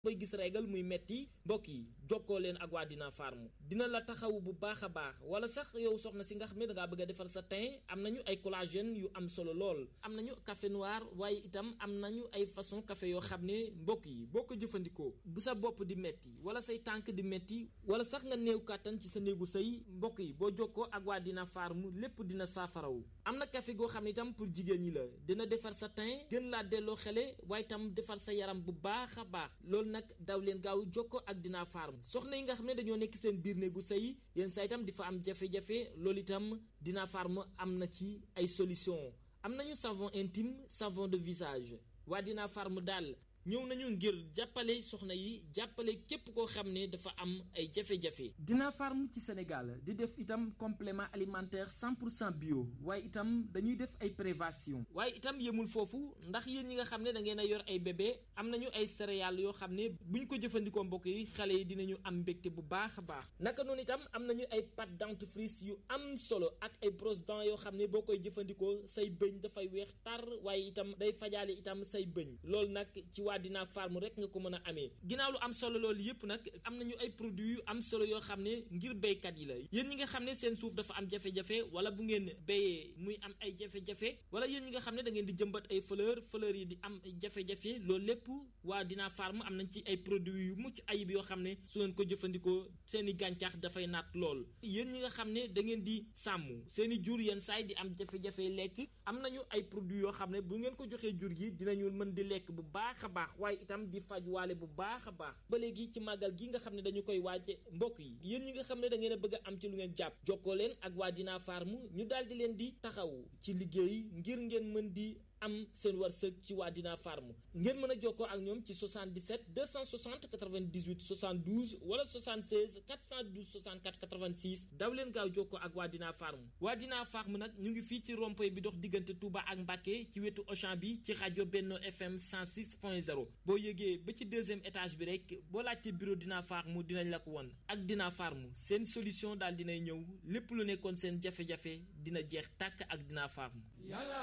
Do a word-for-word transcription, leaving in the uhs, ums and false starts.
bay gis régal muy metti mbokk yi jokkoo leen ak waa Dina Farm dina la taxaw bu baax a baax wala sax yow soxna si nga xam ne dangaa bëgg a defar sa teint am nañu ay collagène yu am solo lool am nañu café noir waaye itam am nañu ay façon café yoo xam ne mbokk yi boo ko jëfandikoo bu sa bopp di metti wala say tànk di metti wala sax nga néew kàttan ci sa néegu sëy mbokk yi boo jokkoo ak waa Dina Farm lépp dina saafaraw am na café goo xam ne itam pour jigéen ñi la dina defar sa teint gën laa delloo xele waaye itam defar sa yaram bu baax a baax loolu nag daw leen gaaw jokkoo ak Dina Farm soxna yi nga xam ne dañoo nekk seen biir néegu sëy yéen saa itam di fa am jafe-jafe loolu itam Dina Farm am na ci ay solution am nañu savon intime savon de visage waa Dina Farm daal ñëw nañu ngir jàppale soxna yi jàppale képp koo xam ne dafa am ay jafe-jafe. Dina Farm ci Sénégal di def itam complément alimentaire cent pour cent bio waaye itam dañuy def ay prévention waaye itam yemul foofu ndax yéen ñi nga xam ne da ngeen a yor ay bébé am nañu ay céréales yoo xam ne buñ ko jëfandikoo mbokk yi xale yi dinañu am mbégte bu baax a baax naka noonu itam am nañu ay pâte dentifrice yu am solo ak ay brosse dents yoo xam ne boo koy jëfandikoo say bëñ dafay weex tar waaye itam day fajaale itam say bëñ loolu nag ci waa Dina Farm rek nga ko mën a amee ginnaaw lu am solo loolu yëpp nag am nañu ay produits yu am solo yoo xam ne ngir béykat yi la yéen ñi nga xam ne seen suuf dafa am jafe-jafe wala bu ngeen béyee muy am ay jafe-jafe wala yéen ñi nga xam ne da ngeen di jëmbat ay fleur fleur yi di am jafe-jafe loolu lépp waa Dina Farm am nañ ci ay produits yu mucc ayib yoo xam ne su ngeen ko jëfandikoo seen i gàncax dafay naat lool yéen ñi nga xam ne da ngeen di sàmm seen i jur yenn saay di am jafe-jafe lekk am nañu ay produits yoo xam ne bu ngeen ko joxee jur gi dinañu mën di lekk bu baax a baax waaye itam di faj waale bu baax a baax ba léegi ci màggal gi nga xam ne dañu koy waaje mbokk yi yéen ñi nga xam ne da ngeen a bëgg a am ci lu ngeen jàpp jokkoo leen ak waa Dina Farm ñu daal di leen di taxaw ci liggéey ngir ngeen mën di am seen wërsëg ci waa Dina Farm ngeen mën a jokkoo ak ñoom ci soixante-dix-sept deux cent soixante quatre-vingt-dix-huit soixante-douze wala soixante-seize quatre cent douze soixante-quatre quatre-vingt-six daw leen gaaw jokkoo ak waa Dina Farm waa Dina Farm nag ñu ngi fii ci rond-point bi dox diggante Touba ak Mbacké ci wetu Auchan bi ci rajo Benno F M cent six point zéro boo yëgee ba ci deuxième étage bi rek boo laajte bureau Dina Farm dinañ la ko won ak Dina Farm seen solution daal dinay ñëw lépp lu nekkoon seen jafe-jafe dina jeex tàkk ak Dina Farm